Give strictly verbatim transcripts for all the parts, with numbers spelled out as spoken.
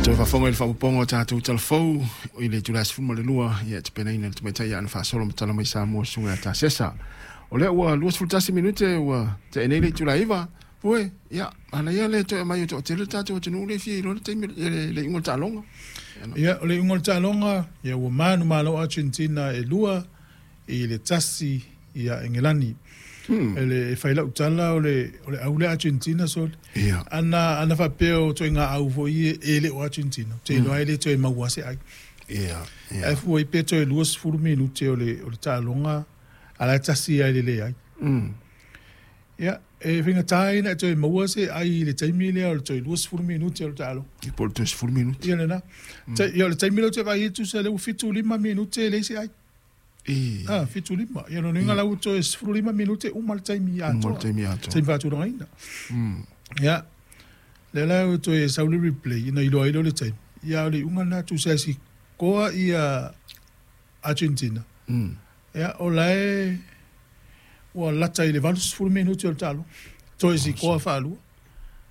Toe faafofoga i le faaopoopoga o tatou talafou i le itula e sefulu ma le lua, ia tapenaina le tamaitai ia ana faasolo ma tala mai Samoa susuga ia Tasesa. O lea ua luasefulu tasi minute ua tea nei le itula e iva, Pue, ia, manaia le toe aumai o toatele le tatou atunuu lea e fia iloa le taimi, le, le iuga o le taaloga. Ia, o le iuga o le taaloga, ia ua manumalo Argentina e lua i le tasi ia Engelani. Hmm. Ele e fai lau tala o le o le au le Argentina sole. Ia. Ana ana faapea o ituaiga au foi e, e le o Argentina. Te iloa e le toe maua se ai. Ia, ia. Ae fua i pe toe luasefulu minute o le o le taaloga a la e tasi ai le leai. Mm. Ia, e faigata ai ona e toe maua se ai i le taimi lea o le toe luasefulu minute o le taaloga. Ia po o le toe sefulu minute. Ia lena. Mm. Ia o le taimi lea ou te vaai ai tusa lea ua fitu lima minute e leai se ai. E. Ah, fitu lima. Ia lona uiga la ua toe sefulu lima minute uma le taimi Uma atoa. le taimi atoa. Taimi faatulagaina. Mm. Ia, lea la ua toe sau le replay ina iloa ai lea o le taimi. Ia o le iuga lena tusa e sikoa ia Argentina. Mm. Ia, o la e ua lata i le valusefulu minute o le taaloga. Toe sikoa faalua.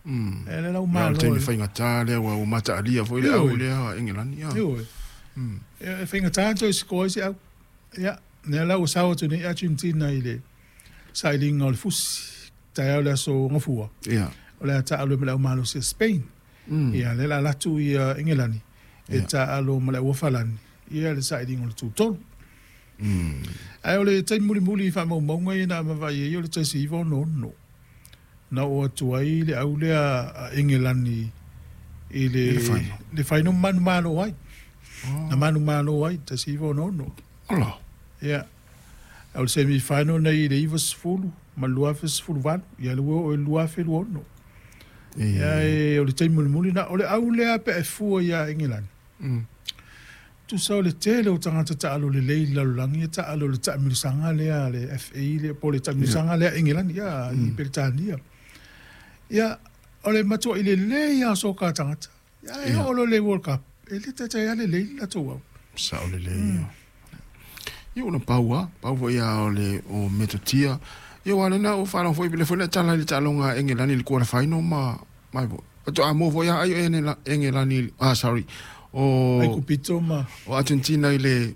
Mm. Ia lea la ua Ia, o le malo. taimi faigata lea ua ua mataalia foi le au lea a Engelani. Ia. Ioe. Mm. Ia, e faigata ona toe sikoa ai se au. Ia, lea la ua sao atu nei Argentina i le sailiga o le fusi. Taeao le aso Gafua. Ia. O le a taalo ai ma le aumalosi a Spain. Mm. Ia, lea la alu atu ia Engelani e Ia. taalo ma le auofalani. Ia le sailiga o le tutolu. Mm. Ae o le taimi mulimuli i faamaumauga ia na vaavaai ai o le tasi iva ono ono. Na oo atu ai le au lea a Engelani i le, I le final. le final manumalo ai. Oh. Na manumalo ai tasi iva ono ono. Ola. Ia. O le semi final nei i le iva sefulu ma le lua afe sefulu valu. Ia le ua oo i le lua afe lua ono. E. Ia e, o le taimi mulimuli na o le au lea pe e fua ia Engelani. Mm. Tusa o le tele o tagata taalo lelei i le lalolagi e taalo i le taamilosaga lea a le F A lea po o le taamilosaga lea a Engelani ia i Peretania. Ia, o le matuai lelei lava o soka tagata. Ia, e Ia. oo loa i le World Cup, e le taitai lava lelei le latou au. Sao lelei. Ia ona pau lava, pau foi lava o le o metotia. Ia aua o lena ua faalogo foi le foi na tala i le taaloga a Engelani i le quarter final ma mai foi. Faatoa mo foi lava ai o Engelani, ah sorry, o Ai Kupito ma o Argentina i le